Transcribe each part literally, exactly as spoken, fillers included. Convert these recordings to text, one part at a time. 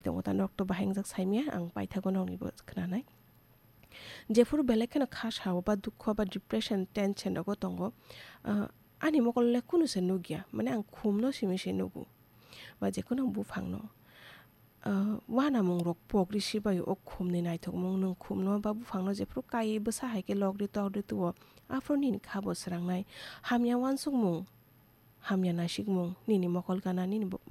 tongo ta, nok to bahai wngjak saimaya, ang paithago nokni bo khwnanai. Jephuru belai kheno kha sao ba dukho ba depression, tension rogo tongo, ah, ani mokol le kunu se nukya, mane ang khumno simi se nugo, ba jekheno buphangno. Ah, uanamungrok pok risi bai o khumni naithokmung, nwng khumno ba buphangno jephuru kaiwi bwsa hai khe lok ri tok ri tuo, aphuru nini kha bo swrangnai. Hamya uansukmung, hamya naisikmung, nini mokol gana, nini bo-,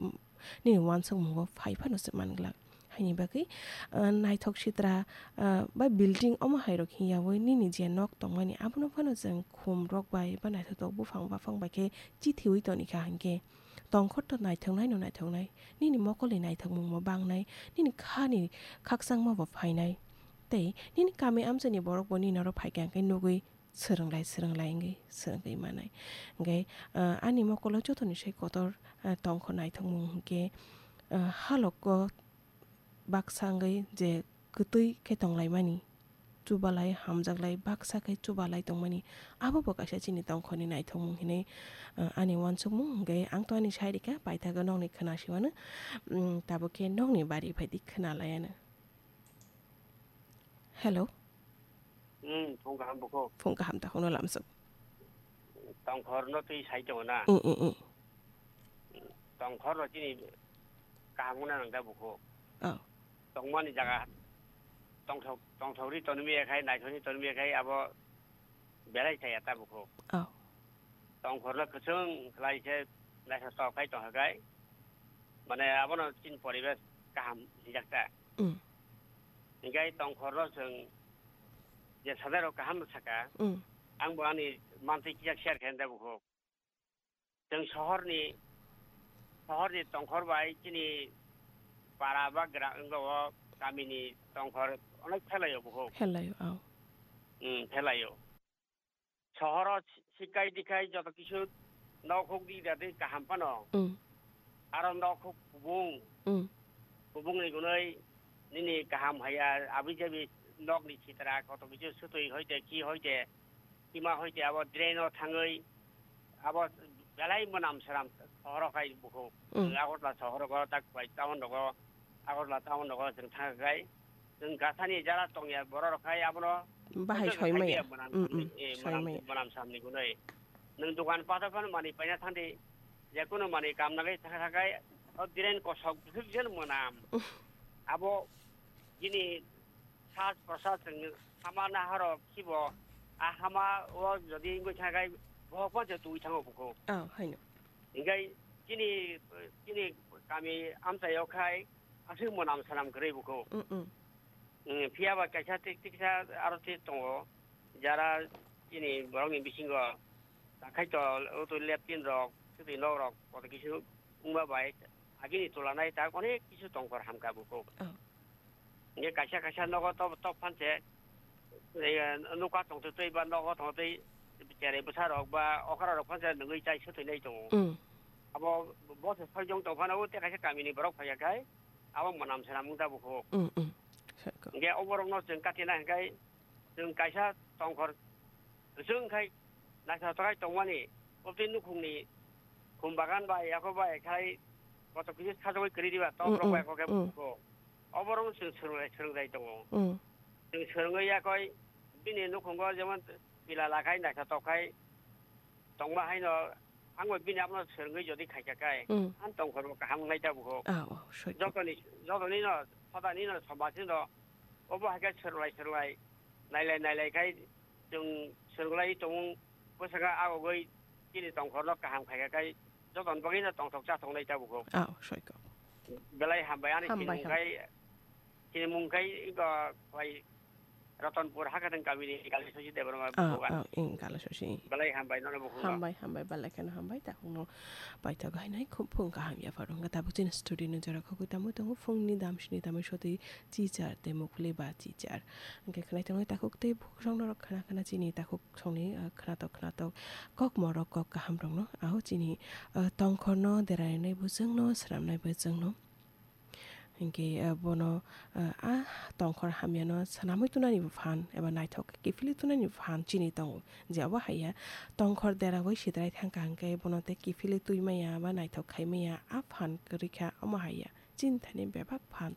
nini uansukmungo phai phano se man glak. Haini bagwi, ah, naithok sitra, ah, ba building omo hai rok hiyawi nini je nok tongmani abono phano chwng khum rok bai ba naithotok buphang baphang bai khe chithiwi tonikha hinkhe tongkhor to naithoknai no naithoknai, nini mokolni naithokmung bo bangnai, nini khani khakchangma bo phainai, tei nini kami amchaini borok bo nini oro phaikha hinkhe nugwi swrwnglai, swrwnglai wngwi swrwngwi manai. Hinkhe, ah, ani mokolo jotoni sai kotor, ah, tongkho naithokmung hinkhe, ah, haloko baksa wngwi je kwtwi khe tonglaimani, chubalai, hamjaklai, baksa khe chubalai tongmani, abo bo kaisa chini tongkhorni naithokmung hinwi, ah, ani uansukmung. Hinkhe ang to ani sai rikha, paithago nokni khwna siwano, mm, tabuk khe nokni bari phaidi khwnalaiano. Hello. Hmm, phung kaham bukhuk. Phung kaham ta, hwnwi lamsuk. Tongkhor no twi sai tongo na? Mm, mm, mm. Tongkhor no chini kaham wngna nang da bukhuk. Oh. Tongmani jaga tongthok, tongthok ri tonmi ya khai, naithok ri tonmi ya khai, abo belai chaya ta bukhuk. Oh. Tongkhorno kwchwng khlai khe naithotok khai tongkha khai, mane abono chini poribesh kaham hinjak ta. Mm. Hinkhe tongkhorno chwng je sanai rok kaham saka, Mm. ang bo ani mantwi kisa share khe da bukhuk. Chwng sohorni, sohorni tongkhor bai chini para ba gra-, wngkha o kamini tongkhor onek phelaio bukhuk. Phelaio, oh. Mm, phelaio. Sohoro si-, sikai dikai joto kisu nok huk di da di kaham phano. Mm. Aro nok huk kubung. Mm. Kubungni gunoi nini kaham haya abi jabi nokni sitra koto kisu sutui hoite ki hoite kima hoite abo drain o thangwi abo belai mwnam swnam sohoro khai bukhuk. Mm. Agartala sohoro go tak bai town rogo Agartala town rogo chwng thang khai Chwng gasani jara tongya borok rok khai abono Bahai soimaya. Mwnam Mm, mm, samni, eh, mwnam, soimaya. Mwnam samni gunoi. Nwng dokan pathar phano manwi paina thangdi. Jekunu manwi kamna bai thang khai o drain kosok bwswk jen mwnam. Abo bini saj prosaj chwng hama nahoro khibo a hama o jodi wngwi thang khai bohok phano twi thango bukhuk. Oh, haino. Hinkhe chini, chini kami amchaio khai aswk mwnam swnam kwrwi bukhuk. Mm, mm. Mm, phiya ba kaisa tik tiksa aro tik tongo, jara chini borokni bisingo takhai to, o to leptin rok, swtwi nok rok, koto kisu wngma bai agini tulanai tak onek kisu tongkhor hamkha bukhuk. Oh. Hinkhe kaisa kaisa nogo top, top phan se, eh, nokha tongtwtwi ba nogo tongtwi cherai bwsa rok ba okra rok phan se nungwi chai swtwi nai tongo. Mm. Abo bo se soi jong tong phano o tei kaisa kamini borok phai ya khai abo mwnam swnam wng ta bukhuk. Mm, mm. Soi kok. Hinkhe o borok no chwng katina hinkhe chwng kaisa tongkhor chwng khai naithotok khai tongmani, obtwi nukhungni khum bagan bai, yako bai khai koto kisi sajagwi kwrwi diba, tok Mm, rok bai mm, kok khe mm. Bo. Oborok chwng swrwnglai, swrwnglai tongo. Mm. Chwng swrwngwi yakoi bini nukhungo jemon pila lakhai naithotok khai tongma haino ang bai bini abono swrwngwi jodi khaikha khai Mm. Ang tongkhor bo kaham wngnai ta bukhuk. Ah, oh, soi. Jotoni, jotoni no, sodani no, somajni no, obo hai khe swrwnglai, swrwnglai, nailai, nailai khai chwng swrwnglai tongmung bwskango agogwi chini tongkhorno kaham khaikha khai jotoni bagwino tongthok chathoknai ta bukhuk. Ah, soi kok. Belai hambai ani Hambai, chini mung ham- khai, chini mung khai iko bai Ratanpur Hakateng kamini Kalishosi Debbarma Ah, bukhuk ah, ang. Ing Kalishosi. Belai hambai nono bukhuk no. Hambai, hambai, belai kheno hambai, takhukno paithak hainai khum phung kaham yaphar wngkha. Tabuk chini studio ni jora khogwi tamo tongo phungni damsini tamo sotwi chichar tei mukhli ba chichar. Hwnkhe khwnai tongnai takhuk tei bukhuk rokno rok khna khna chini takhuk songni, ah, khnatok khnatok kok morok kok kaham rokno aho chini, ah, tongkhorno derainai bo chwngno swnamnai bo chwngno. Hinkhe, ah, bono, ah, ah, tongkhor hamyano swnamwi tunani bo phan eba naithok kiphilwi tunani bo phan chini tongo. Je obo haiya tongkhor derawi sidrai thangkha hinkhe bono tei kiphilwi twi maya ba naithok khai maya a phan kwrwi kha omo haiya. Chini thani bebak phan